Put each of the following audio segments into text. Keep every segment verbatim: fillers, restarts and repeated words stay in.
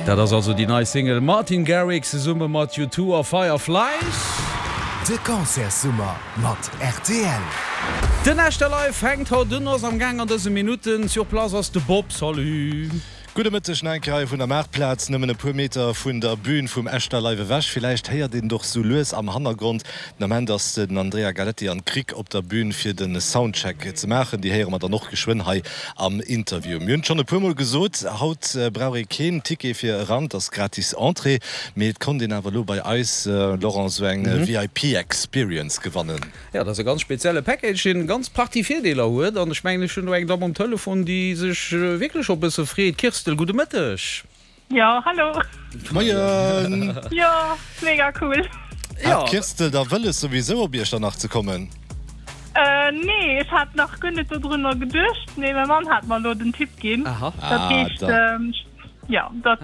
Dat ass also déi nei Single Martin Garrix zesumme mat U two a Fireflies. De Concertssummer mat rtl. Den Echter Live fänkt haut un, ass am Gaang an dëse Minutten. Sur place ass de Bob. Salut. Gudde Mëtteg nach eng Kéier hei vun der Maartplaz, nëmmen e puer Meter vun der Bühn vum Echter Live ewech. Villäicht héiert een et och sou lues am Hannergrond. Den Ament ass den Andrea Galetti an d'Krick op der Bühn fir de Soundcheck ze maachen. Déi héiere mer dann och geschwënn hei am Interview. Mir hunn et schonn e puer Mol gesot, haut brauch ee keen Ticket fir eran, et ass gratis Entrée. Mee et konnt een awer elo bei eis, Laurent, sou eng V I P Experience gewannen. Jo, dat ass e ganz spezielle Package, deen eng ganz Partie Virdeeler huet. An ech mengen, ech hunn do eng Damm um Telefon, déi sech wierklech och e bësse freet. Kirstel, gudde Mëtteg. Jo, hallo. Moien. Jo, mega cool. Hat d'Kirstel da wëlles souwisou op Iechternach ze kommen? Nee, ech hat nach guer net dodrunner geduecht, mee mäi Mann hat mer elo den Tipp ginn. Dat heescht, jo, dat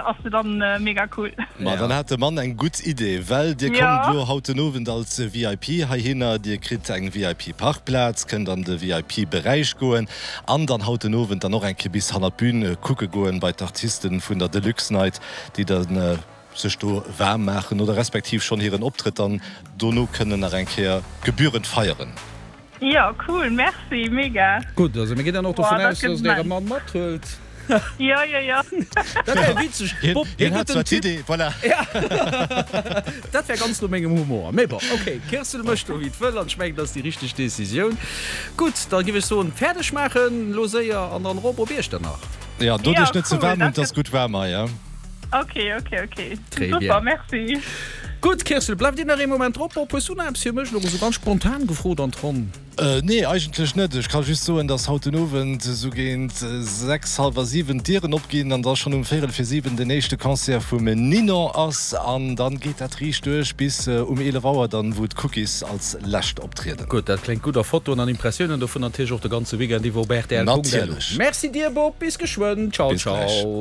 ass jo dann mega cool. Ma dann hat de Mann eng gutt Idee, well dir kommt elo haut den Owend als V I P heihinner. Dir kritt eng V I P-Parkplaz, kënnt an de V I P-Beräich goen an dann haut den Owend dann och eng Kéier bis hannert d'Bün kucke goen bei d'Artisten vun der Deluxe Night, déi dann sech do waarm maachen oder respektiv schonn hiren Optrëtt dann dono kënnen nach eng Kéier gebührend feieren. Jo, cool, merci, mega. Gutt, also mir ginn dann och dovun aus, dass Der Äre Mann mathuelt. Jo, jo, jo. Dat wär witzeg. Bob, hien hat zwar d'Idee, voilà. Dat wär ganz no mengem Humor. Mee bon, okay, d'Kirstel mécht do wéi d'wëll an ech mengen, dat ass déi richteg Decisioun. Gutt, da giff ech soen, fäerdeg maachen elo séier an dann erop op Iechternach. Jo, dot iech net ze waarm un, 't ass gutt waarm hei, ja. Ok, ok, ok. Super, merci. Gutt, Kirstel, bleift Dir nach ee Moment drop? Bob, hues du nach eppes fir mech? Elo esou ganz spontan gefrot an d'Ronn. Nee, eigentlech net. Ech ka just soen, dass haut den Owend esou géint sechs, hallwer siwen d'Dieren opginn an da schonn um véierel fir siwen den éischte Concert vum Ninon ass. An dann geet dat riicht duerch bis um eelef Auer dann, wou d'Cookies als lescht optrieden. Gutt, dat kléngt gutt. A Fotoen an Impressiounen dovun natierlech och de ganze Weekend iwwer op rtl Punkt lu. Natierlech. Merci dir, Bob, bis geschwënn. Ciao, Bis gläich. ciao.